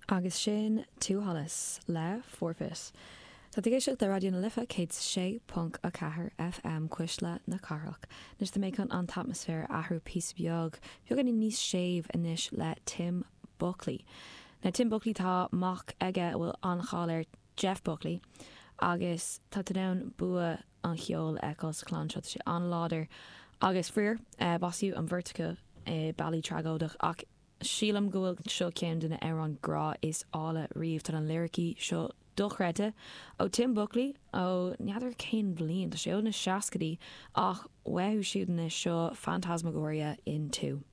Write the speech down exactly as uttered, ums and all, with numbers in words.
Agus sin Two Hollis le Forfeit. Tá tú ag éisteacht le Raidió na Life céad sé ponc a ceathair FM Cuisle na Cathrach. Anois tá mé chun an t-atmaisféar a athrú píosa beag, beagáinín níos séimh anois le Tim Buckley. Now Tim Buckley tá mac aige a bhfuil an-cháil air Jeff Buckley agus tá tú in ann bua an cheoil a fheiceáil sa chlann seo, tá sé an-láidir agus faraor básaíodh an bheirt acu i bealaí tragóideach ach sílim go bhfuil seo ceann de na hamhráin grá is áille riamh. Tá na liricí seo dochreidte ó Tim Buckley ó n'fheadar cén bhliain, tá sé ó na seascaidí ach uathu siúd anois seo Phantasmagoria in Two.